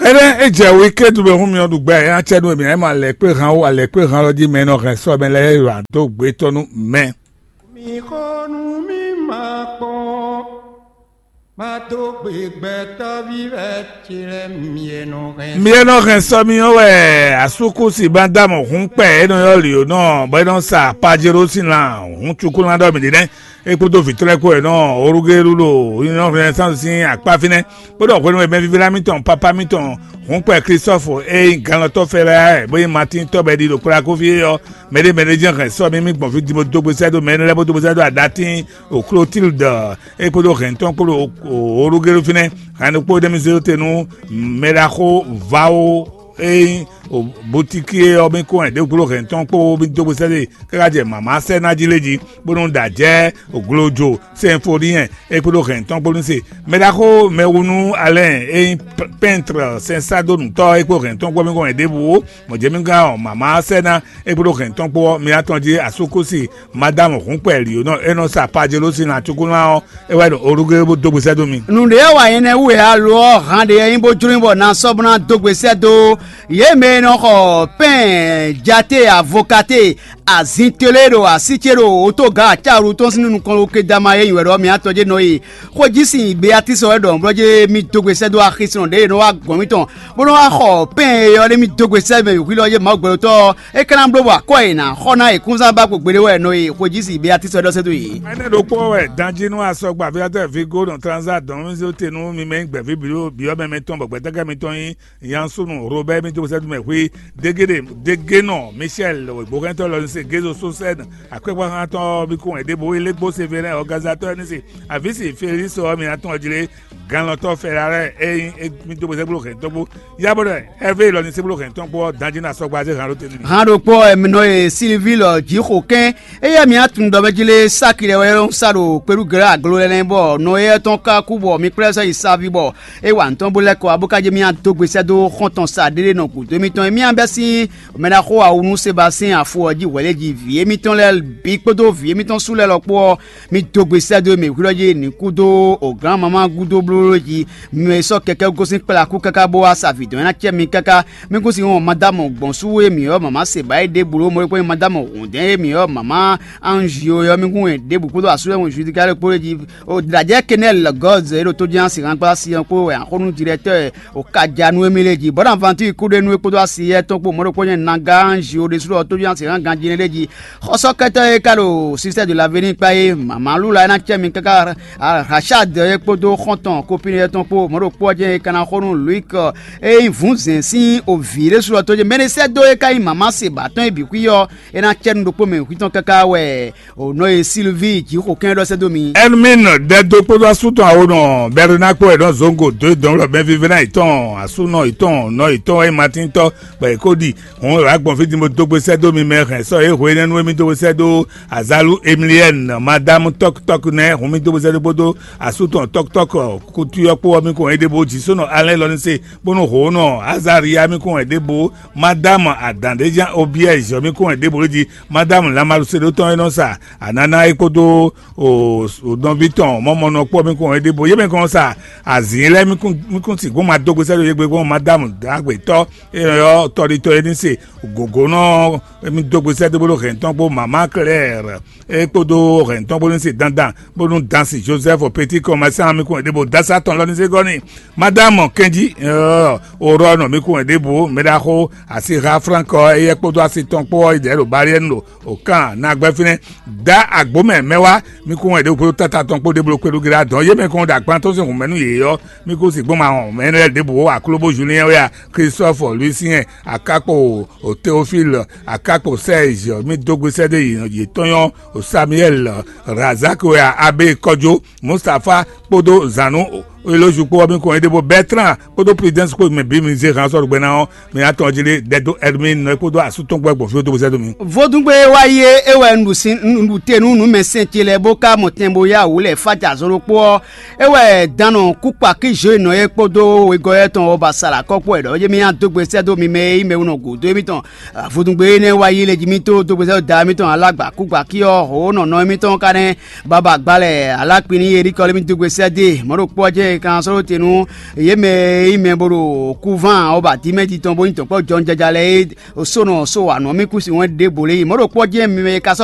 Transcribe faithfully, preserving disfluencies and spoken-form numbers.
Énɛ́ é jɛ wikɛ́dú mɛ hún myɔ ɖu gbɛ, é ná cɛ nú mì, é ma lɛ̌ kpé han ó, alɛ̌ kpé han lɔ jí mɛ e nɔ hɛn sɔ́ mɛ lɛ́ɛ yi wǎ dó gbé tɔn nú mɛ. Mi xo nú mi ma kpɔ́n, ma dó gbe gbɛtɔ́ví wɛ ce lɛ́ɛ mi e nɔ hɛn. Mi e nɔ hɛn sɔ mi ɔ́ wɛ asúkúsi Madamu hún kpɛ e nɔ ylɔ́ Lionɔ bɔ é nɔ sa Pajero sín lan hún cukúlán ɖɔ mǐ ɖe nɛ́. É kpódó vǐ tɔn lɛ́ɛ kpó wɛ nɔ Orugelu ɖo Union Renaissance sín akpá fínɛ́, bó ɖɔ hwenu e mɛvívla mitɔn papa mitɔn hǔnkpɛ Klistɔ́fu e nyí ganlɔtɔ́ Fɛlɛ́ bó nyí Matín tɔ́ bɔ è ɖi ɖo kplakófí é ɔ́, mɛɖé mɛɖé jɛ́n hɛn sɔ́ mì mì gbɔn fí din bó dó gbe sɛ́ dó mɛ énɛ́ lɛ́ɛ bó dó gbe sɛ́ dó Adatín ɖo Klótíldɔ é kpódó hɛn tɔn kpó ɖo Orugelu fínɛ́. Hɛn ɖokpó ɖé mi zé te nú mɛɖaxó Vawo e nyí Butíki é ɔ́, mì kó hɛn ɖěbǔ kpó ɖo hɛn tɔn kpó mì dó gbe sɛ́ dó káká jɛ mǎmá sɛ́ ná jí lé jí, bónú ɖa jɛ oglojo Sinfoniɛn é kpódó hɛn tɔn kpó ní se. Mɛɖaxó mɛwunú Alɛ́n e nyí pɛ́ntre sɛnsadónutɔ́ é kpó hɛn tɔn kpó mì kó hɛn ɖěbǔ ó. Mɔ̌ jɛ mì gán ɔ́, mǎmá sɛ́ ná é kpódó hɛn tɔn kpó ɔ́, mi ná tɔn jí asúkúsi Madámu hǔnkpɛ Lǐonɔ e nɔ sa Pajelósi ná cúkúná ɔ́, é wɛ ɖo Olugéwu bó dó gbe sɛ́ dó mi. Nǔɖé ɔ́ wa nyɛ nɛ́ wú wɛ a lo ɔ́, han ɖě nyí bó jló nyí bɔ ná sɔ́ bó ná dó gbe sɛ́ dó yě mɛ e nɔ xɔ pɛ́n jate avokate azintélé ɖo así ce ɖo otóga acáwlu tɔn sín nukɔn Kedama e nyi wɛ ɖɔ mǐ atɔn ce nɔ e xwéjísin Beatísi wɛ ɖɔ nǔblɔ́ ce mì dó gbe sɛ́ dó axisínɔ ɖě e nɔ wá gɔ̌n mǐtɔn bó nɔ wá xɔ pɛ́n e ɔ́ ɖé mì dó gbe sɛ́ mɛ hwilɔ yé Mawu gbɛɖotɔ́ ɔ́, é ka ná bló bɔ akwɛ́ e nǎ xɔ ná e kúnzán ba kpo gbeɖé wɛ nɔ e xwéjísin Beatísi wɛ ɖɔ sɛ́ dó yě. Énɛ́ ɖokpó wɛ danjí nú asɔgba fífátɔ́ Vigo nɔ Transa dɔn mì zé te nú mi mɛ nyí gbɛ̌ví byɔ́ mɛ mɛtɔn bɔ gbɛtɛ́kɛ mitɔn nyí Yansunu Robɛ́ɛ mì dó sɛ́ dó mɛ hwí, Dégéɖe Dégénɔ Michɛl wěgbóhɛntɔ́ lɔ ní se Gézo Sosɛ́n akwɛ́gbáxántɔ́ ɔ́ mì kún wɛ ɖěbǔ Ilégbó Sevelɛ́n ɔ́gázatɔ́ ɔ́ ní se Avǐsi Felísi ɔ́ mì ná tɔ́n jí lé. Ganlɔtɔ́ Fɛlálɛ́ e nyí mì dó sɛ́ gblo hɛn tɔn kpó yá bɔ ɖɔ Ɛvée lɔ ní sɛ́ gblo hɛn tɔn kpó ɔ́, danjí ná sɔgba zé han ɖó te nú mì. Han ɖokpó ɔ́, mǐ nɔ e Silvíi lɔ Jǐxo kɛ́n, éyɛ́ mǐ atun ɖɔ mɛ jí lé sáki lɛ́ɛ wɛ nɔ sá ɖo kpéɖúgɛ̌ aglo lɛ́ɛ lɛ́ɛ bɔ nɔ éyɛ́ tɔn ka kú bɔ mi kplá sɔ́ yi saví bɔ é wa nǔ tɔn bó lɛ́ kɔ wá bó ka jɛ mì adó gbe sɛ́ dó xɔ́ntɔn sa ɖé ɖé nɔ gǔdo émítɔn e mì bɛ́ sín mɛɖaxó awǔ nú Sebasɛ́n afo ɔ́ jí hwɛ̌ lɛ́ɛ jí vǐ émítɔn lɛ́ɛ bǐ kpódó vǐ émítɔn sú lɛ́ɛ lɔ kpó ɔ́, mì dó gbe sɛ́ dó mì hwilɔ́ jí ní kú dó o gǎn mamá gúdo blóbló jí. Mɛ sɔ́ kɛkɛ́ gosín kplá kú káká bó wá sa vǐ dɔn é ná cɛ mi káká. Mi kún si wɔn Madámu gbɔn sú e mǐ ɔ́ mama se ba é ɖěbǔ ɖó mɔ̌ kpɔ́n Madámu hǔndɛ́n e mǐ ɔ́ mama Anzio ɔ́ mi kún wɛ ɖěbǔ kpódó asúlɛ́mú Judika lɛ́ɛ kpó jí. O dlǎjɛ Kenɛ́l Gɔ́z e ɖo tójínasi hángbá asi ɔ́ kpó wɛ axɔ́nú dirɛtɔ́ o ka ja nú émí lé jí. Bɔ́ ná Vantíi kúɖénú é kpódó asi yɛ́ tɔn kpó mɔ̌ ɖokpó nyɛ Nagá Anzio ɖésú ɔ́ tójínasi hán ganjí lé jí. Xɔsɔ́kɛtɔ́ e ka ɖo Sistɛ́ de Lavéní kpá é, mama Lula é ná cɛ mi káká Rachad é kpódó xɔ́ntɔn Kopiniyɛ tɔn kpó mɔ̌ ɖokpó ɔ́ jɛ́n é ka ná xo nú Luik e nyí vǔnzɛn sín ovǐ ɖésú ɔ́ tó jɛ mɛ e sɛ́ dó é ka nyí mama se ba tɔn é bǐ xwí ɔ́, é ná cɛ nú ɖokpó mɛ xwí tɔn káká wɛ o nɔ e Silvíi Jǐxokɛ́n ɖɔ sɛ́ dó mi. Ɛnumín ɖɛ dó kpódó asú tɔn awo nɔ Bɛrina kpó wɛ nɔ Zongo dó dɔn lɔ mɛ vívɛ́ná yětɔn asúnɔ yětɔn nɔ yětɔn wɛ nyí Matín tɔn bɔ è ko ɖi hǔn è wǎ gbɔn fí din bó dó gbe sɛ́ dó mi mɛ hɛn sɔ́ é hwe énɛ́ nú émí dó gbe sɛ́ dó Azalu Emiliɛ́n, Madámu Tɔ́kutɔ́ku nɛ́ hun mì dó bó zɛ́ dó bódó asú tɔn tɔ́kutɔ́kú kútú ɔ́ kpó ɔ́ mì kɔn éɖée bó jí sónɔ Alɛ́n lɔ ní se, bónú hǒnɔ Azariya mì kɔn éɖée bó, Madámu Adǎndéjan Obiɛ́zi ɔ́ mì kɔn éɖée bó jí, Madámu Lamaluseɖótɔn e nɔ sa anana é kpódó nɔví tɔn mɔmɔnɔ kpó mì kɔn éɖée bó. Yě mɛ kɔn sa azǐn lɛ́ɛ mì kún sixú ma dó gbe sɛ́ dó yě gbe gbɔn Madámu Dǎgbetɔ́ e nɔ ylɔ́ tɔɖitɔ́ é ní se gǒgónɔ mì dó gbe sɛ́ dó bódó hɛn tɔn kpó Mamá Klɛ́ɛr é kpódó hɛn tɔn kpó ní se dandan bónú dan si Jozɛ́fu Petí kɔn ma sán mì kún ɖěbǔ dásá tɔn lɔ ní zé gɔ́ n'i. Madámu kɛnjí Orɔ́ɔnɔ mì kún ɖěbǔ mɛɖaxó asixa Flánk ɔ́, éyɛ́ kpódó asi tɔn kpó ɔ́ yi ɖɛ̌ ɖo Baliɛ́nu ɖo Okán ná gbɛ́ fínɛ́. Dá agbǒ mɛ mɛ wá mì kún ɖěbǔ kpódó táta tɔn kpó ɖěbǔ kpé ɖó gílá dɔn yé mɛ kɔn ɖo agban tɔn sín hǔnmɛ nú yě ɔ́, mì kún sixú ma wɔn mɛ lɛ́ɛ ɖěbǔ ó, Aklóbó Julien wɛ a, Klistɔ́fɔ Luisiyɛn, akákpo Teofíl, akákpo Sɛ́ɛzyi, mì dó gbe sɛ́ dó yětɔn nyɔ́, Samuɛ́l, Razak wɛ a, Abé Kɔjó, Mustafá kpódó zǎnú Elózu kpó ɔ́, mì kɔn éɖée bó Bɛ́tlán kpódó Prudɛ́nsi kpó mɛ bǐ mi zé han sɔ́ ɖo gbɛ ná ɔ́, mi ná tɔn jí lé ɖɛ dó Ɛrmín nɔ é kpódó asú tɔn kpó wɛ gbɔn fí dó gbe sɛ́ dó mi. Vodúngbe wá yi é wɛ un ɖu te nú nǔ mɛ sɛn ce lɛ́ɛ bó ka mɔ tɛn bó yá wǔ lɛ fá jɛ azɔn ɖokpó ɔ́, é wɛ dannɔ kúkpa kízo e nɔ é kpódó wegɔ́ tɔn ɔ́ ba sa ɖo akɔ́kpó wɛ ɖɔ é mì ná dó gbe sɛ́ dó mi mɛ e nyí mɛwunɔ gǔdo émítɔn. Vodúngbe énɛ́ wá yi lě jí mì tó dó gbe sɛ́ dó da émítɔn alágbà kúgbakí ɔ́, hǒnɔnɔ émítɔn ka nɛ́ baba gba lɛ alákpin n'i Erikɔ́ lé mì dó gbe sɛ́ dó e mɔ̌ ɖokpó ɔ́ jɛ́n Kan sɔ́ ɖó te nú yě mɛ e nyí mɛ bó ɖo kúván ɔ́ ba dímɛ́ titɔn bó nyí dɔ̌nkpɔ́ jɔnjɔja lɛ́ɛ é, sónɔ só anɔ̌ mì kú si wɛn ɖěbǔ lé yi mɔ̌ ɖo kpɔ́ jɛ́n mɛ e ka